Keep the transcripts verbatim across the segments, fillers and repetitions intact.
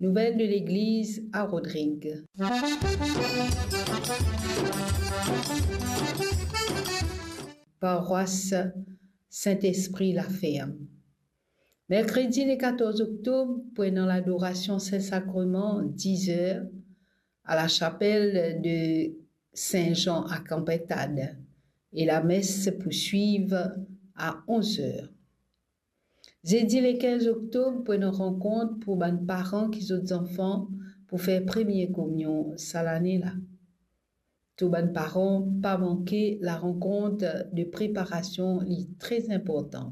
Nouvel de legliz a Rodrig. Parwas Sint-Espri Laferm. Merkredi le katorz oktob, pou ena ladorasion Sin Sakreman, diz er, a lasapel de Sin Zan a Kanpintad, e lames pou swiv a onz er. Zedi le kinz oktob, pou ena rankont pou bann paran ki zot zanfan pou fer premie kominyon sa lane la. Tou bann paran, pa manke larankont de preparasion, li tre inportan.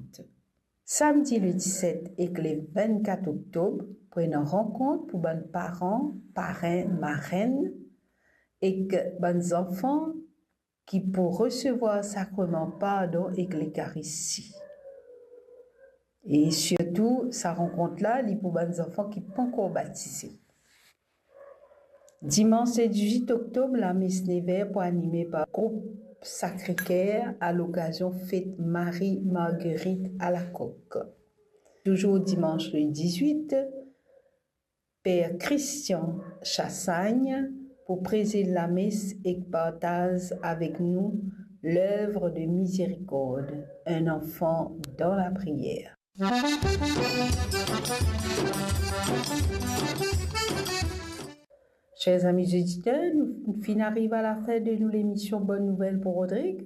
Samdi le diset ek le vennkat oktob, pou ena rankont pou bann paran, parenn, marenn ek bann zanfan ki pou resevwar sakreman pardon ek Lekaristi. E sirtou, sa rankont la, li pou bann zanfan ki pankor batize. Dimans le diz-wit oktob, lames nev er pou anime par group Sacré-Cœur a lokazion fet Marie Marguerite Alacoque. Touzour dimans le diz-wit, Per Christian Chassagne pou prezid lames ek partaz avek nou L'œuvre de miséricorde, un enfant dans la prière. Cher zami oditer, nou finn ariv a lafin de nou lemision Bonn Nouvel pou Rodrig.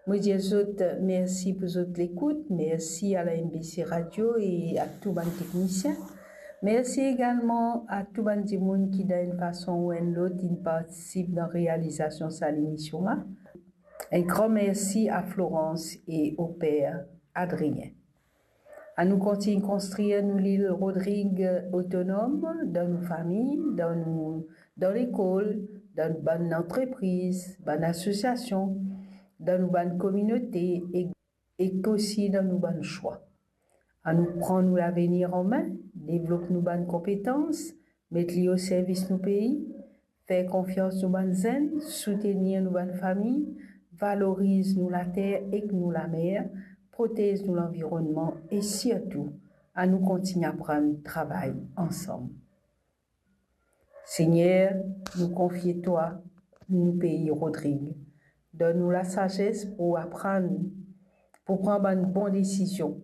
Mo dir zot mersi pou zot lekout, mersi a la M B C Radio e a tou bann teknisien. Mersi egalman a tou bann dimoun ki, dan enn fason ou enn lot, inn partisip dan realizasion sa lemision la. Enn gran mersi a Florence e o per Adrien. Anou kontign konstrir nou lil Rodrig otonom, dan nou fami, dan nou, dan lekol, dan nou bann antrepriz, bann asosiasion, dan nou bann kominote e, ek osi dan nou bann swa. Anou pran nou lavenir an me, devlop nou bann konpetans, met li o servis nou pei, fer konfians nou bann zenn, soutenir nou bann fami, valoriz nou later ek nou lamer, protez nou lanvironnman e sirtou, anou kontign aprann travay ansam. Segner, nou konfie twa nou pei Rodrig. Donn nou lasazes pou aprann, pou pran bann bon desizion,